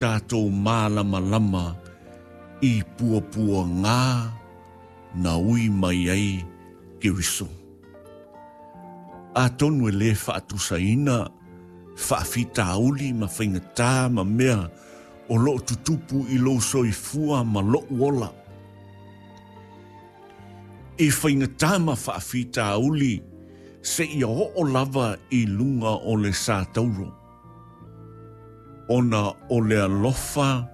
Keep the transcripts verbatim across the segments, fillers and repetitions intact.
Tatou malamalama i puapuaga na ui mai ai Keriso. Atonu e lē faatusaina faafitauli ma faigatā ma mea o loo tutupu i lou soifua ma lo'u ola. I faigatā ma faafitauli seia oo lava i luga o le satauro. Ona o le alofa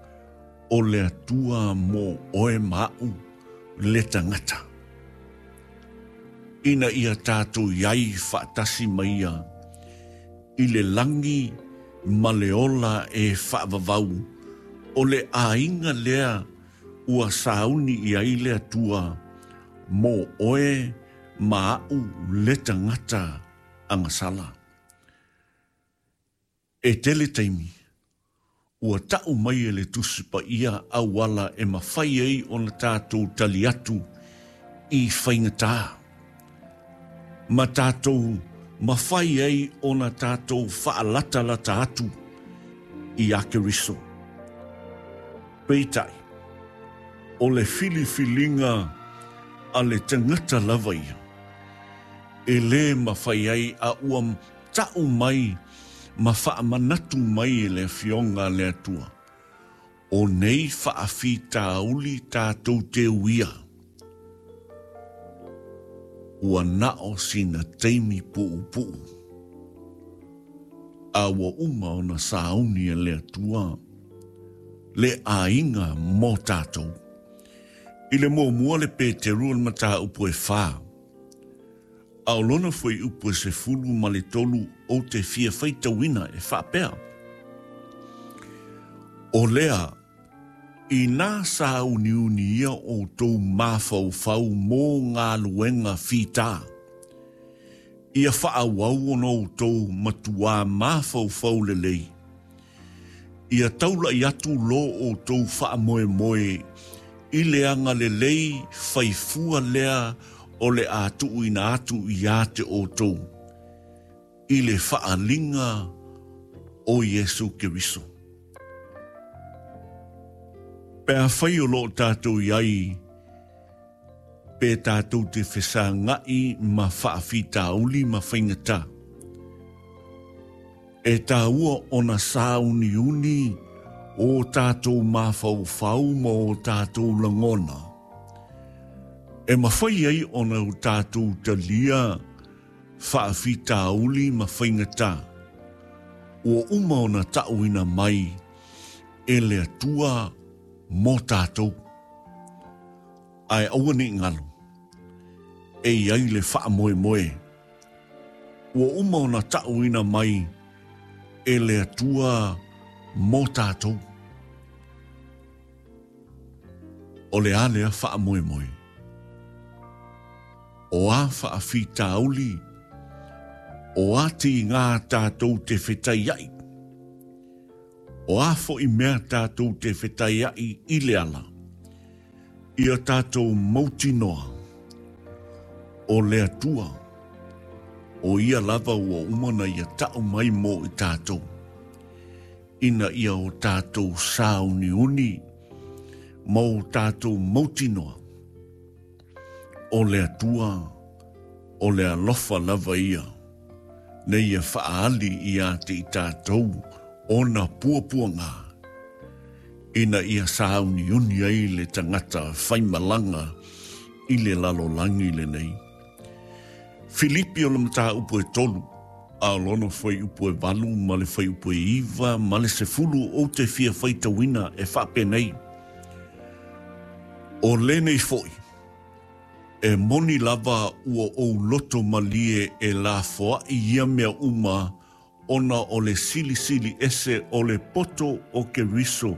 o le Atua mo oe ma a'u le tagata. Ina ia tatou iai faatasi ma ia i le lagi ma le ola e faavavau o le aiga lea ua sauni i ai le Atua mo oe ma a'u le tagata agasala. E tele taimi ua ta'u mai e le Tusi Paia auala e mafai ai ona tatou tali atu i faigatā. Ma tatou mafai ai ona tatou faalatalata atu ia Keriso. Peitai, o le filifiliga a le tagata lava ia. E lē mafai ai a ua ta'u mai ma faamanatu mai e le Afioga a le Atua. O nei faafitauli tatou te uia. Ua na o sina taimi puupuu. A ua uma ona sauni e le Atua le aiga mo tatou. I le muamua le Peteru o le mataupu e fā. A o lona fuaiupu e sefulu ma le tolu ou te fia faitauina e faapea. O lea, inā sauniunia outou mafaufau mo galuega fitā. Ia faaauau ona outou matuā mafaufau lelei. Ia taula'i atu lo outou faamoemoe i le agalelei faifua lea o le a tuuina atu ia te outou i le faaaliga o Iesu Keriso. Pe afai o loo tatou iai pe tatou te fesaga'i ma faafitauli ma faigatā. E tāua ona sauniuni o tatou mafaufau ma o tatou lagona. E mafai ai ona o tatou talia faafitauli ma faigatā. Ua uma ona ta'uina mai e le Atua mo tatou. Ae aua nei galo. E iai le faamoemoe. Ua uma ona ta'uina mai e le Atua mo tatou. O le a lea faamoemoe. O a faafitauli, o a tigā tatou te fetaia'i. O a fo'i mea tatou te fetaia'i i le ala. Ia tatou mautinoa. O le Atua. O ia lava ua uma na ia ta'u mai mo i tatou. Ina ia o tatou sauniuni ma o tatou mautinoa. O le Atua, o le alofa lava ia. Na ia faaali ia te i tatou ona puapuaga. Ina ia sauniuni ai le tagata faimalaga i le lalolagi lenei. Filipi o le mataupu e tolu, a o lona fuaiupu e valu ma le fuaiupu e iva ma le sefulu ou te fia faitauina e faapenei. O lenei fo'i, e moni lava ua ou loto malie e lafoa'i ia mea uma ona o le silisili ese o le poto o Keriso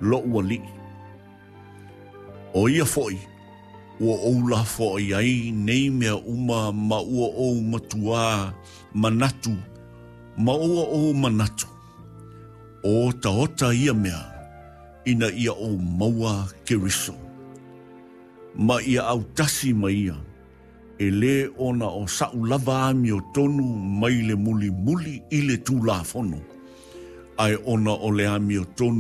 lo'u alii. O ia fo'i, ua ou lafoa'i ai nei mea uma ma ua ou matuā manatu, ma ua ou manatu. O otaota ia mea, ina ia ou maua Keriso. Ma ia autasi ma ia, e lē ona o sa'u lava amiotonu mai le mulimuli i le Tulafono, ae ona o le amiotonu